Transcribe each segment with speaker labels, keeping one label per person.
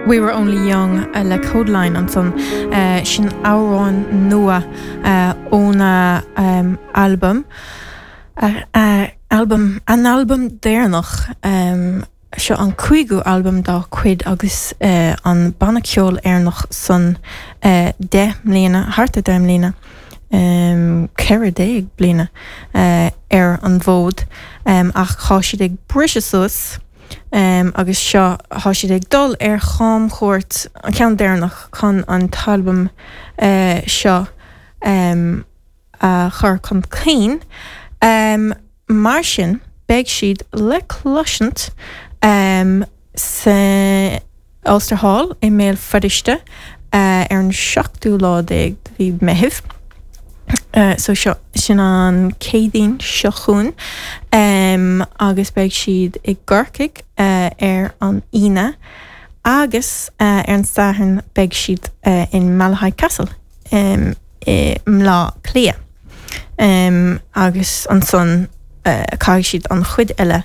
Speaker 1: We Were Only Young le Kodaline ansan. Sin amhrán nua óna albam, albam, a n-albam deireanach. Seo an cúigiú albam dá cuid agus an banna ceoil Éireannach san 10 mbliana, thart ar 10 mbliana, 14 bliana ar an bhfód ach tá siad ag briseadh suas agus seo, tá siad ag dul ar chamchuairt, an ceann deireanach chun an t-albam seo a chur chun cinn. Mar sin, beidh siad le cloisint sa Ulster Hall i mBéal Feirste ar an seachtú lá déag de mhí Meithimh. So seo, sin an Céadaoin seo chugainn agus beidh siad i gCorcaigh ar an Aoine agus ar an Satharn beidh siad in Malahide Castle i mBleá Cliath. Agus ansan caithfidh siad an chuid eile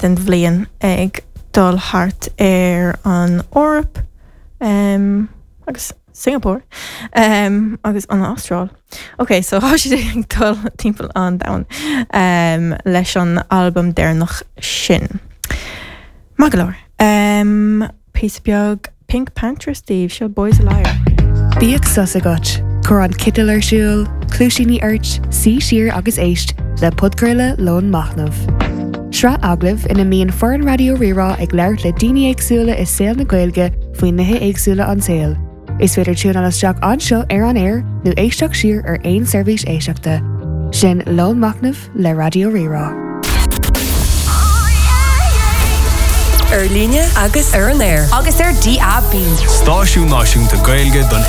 Speaker 1: den bhliain ag dul thart ar an Eoraip agus Singapore agus an Astráil. Ok, so tá siad ag dul timpeall an domhain leis an albam deireanach sin. Maith go leor. Píosa beag PinkPantheress daoibh, seo Boy's a Liar.
Speaker 2: Bíodh sos agat, cuir an citeal ar siúl, cluaisíní ort, suí siar agus éist le podchraoladh Lón Machnaimh. Sraith agallamh ina mbíonn foireann Raidió Rí-Rá ag labhairt le daoine éagsúla i saol na Gaeilge faoi nithe éagsúla an tsaoil. Is féidir tiúnáil isteach anseo ar an aer nó éisteacht siar ar aon seirbhís éisteachta. Sin Lón Machnaimh le Raidió Rí-Rá.
Speaker 3: Ar líne agus ar an aer.
Speaker 4: Agus ar DAB.
Speaker 5: Stáisiún náisiúnta Gaeilge don.